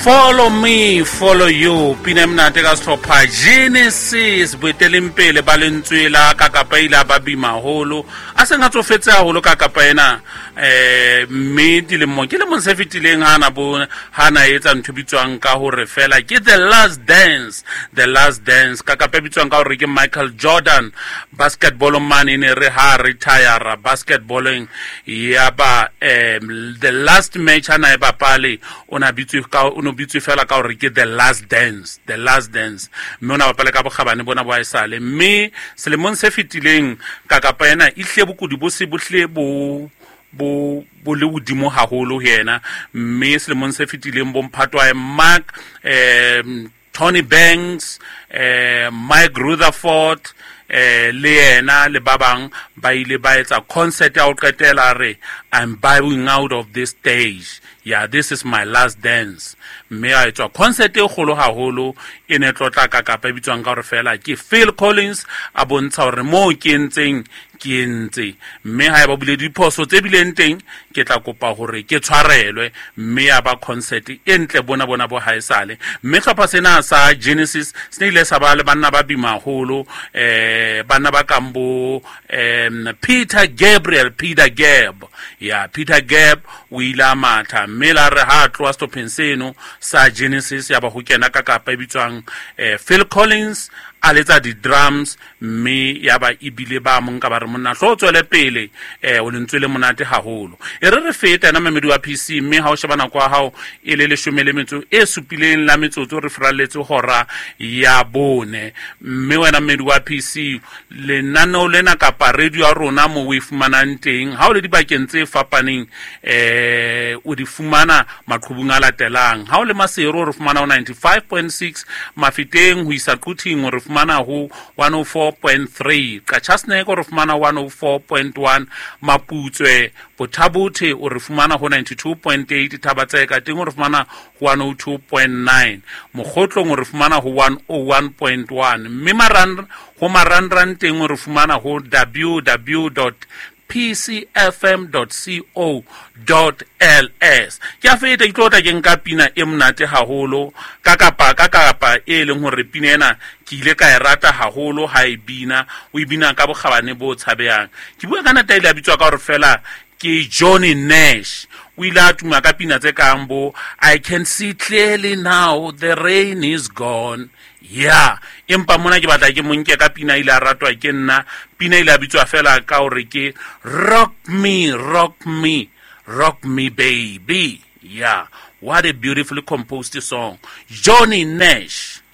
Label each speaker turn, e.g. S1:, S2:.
S1: Follow me, follow you. Pina e monate ka sehlopha Genesis boeteleng pele ba lentswe la kakapa ile a ba bima haholo a seng a tsofetse haholo ka kapa ena mme dilemo ke lemong se fetileng ha na bo ha na etsa ntho e bitswang ka hore fela ke the last dance, the last dance ka kapa e bitswang ka hore ke Michael Jordan basketball man e ne re ha retire basketballing ya ba the last match ha na e bapale o na bitswe ka o no bitswe fela ka hore ke the last dance, the last dance, mme o na bapale ka bokgabane bona bo haesale. Mme selemong se fetileng kakapa ena e hlile bokudi bo se bo hlile bo bo bo le hodimo haholo ho yena. Mme selemong se fetileng bo mphato wa Mark, Tony Banks, Mike Rutherford, le yena le ba bang ba ile ba etsa concert ya ho qetela re I'm bowing out of this stage, yeah, this is my last dance. Mme a etswa concert e kgolo haholo e ne tlotla ka kapa e bitswang ka hore fela ke Phil Collins, a bontsha hore moo ke entseng ke entse, mme ha e ba bile diphoso tse bileng teng ke tla kopa hore ke tshwarelwe. Mme ya ba concert e ntle bona bona bo haesale. Mme hlopha sena sa Genesis se ne ile sa ba le banna ba bima haholo, banna ba kang bo Peter Gabriel, Peter Gab, ya Peter Gab o ile a matha, mme la re ha a tloha sehlopheng seno sa Genesis ya ba ho kena ka kapa e bitswang Phil Collins a letsa di-drums, mme ya ba ebile ba mo nka ba re monna hlo o tswele pele, o lentswe le monate haholo. E re re feta yena mamedi wa PC, mme ha o sheba nako ya hao e le leshome le metso e supileng la metsotso re furalletse hora ya bone. Mme wena mmedi wa PC, lenaneo lena kapa radio ya rona mo o e fumanang teng ha o le dibakeng tse fapaneng, o di fumana maqhubung a latelang. Ha o le Maseru re fumana ho 95.6, Mafeteng ho isa Quthing re fumana ho 104.3, Qachaseneke re fumana 104.1, Maputswe Bothabothe o re fumana ho 92.8, Thabatseka teng o re fumana ho 102.9, Mokgotlong o re fumana ho 101.1, mme ho marangrang teng o re fumana ho w w dot p c f m dot c o dot l s. Ke a feta ke tlo tla ke nka pina e monate haholo ka kapa ka kapa e leng hore pina ena ke ile ka e rata haholo ha e bina, o e bina ka bokgabane bo tshabehang. Ke bua ka nata ile a bitswa ka hore fela ke Johnny Nash. O ile a tuma ka pina tse kang bo I can see clearly now the rain is gone. Yeah, empa mona ke batla ke mo nke ka pina ile a ratwa ke nna. Pina ile a bitswa fela ka hore ke Rock Me, Rock Me, Rock Me Baby. Yeah, what a beautifully composed song. Johnny Nash.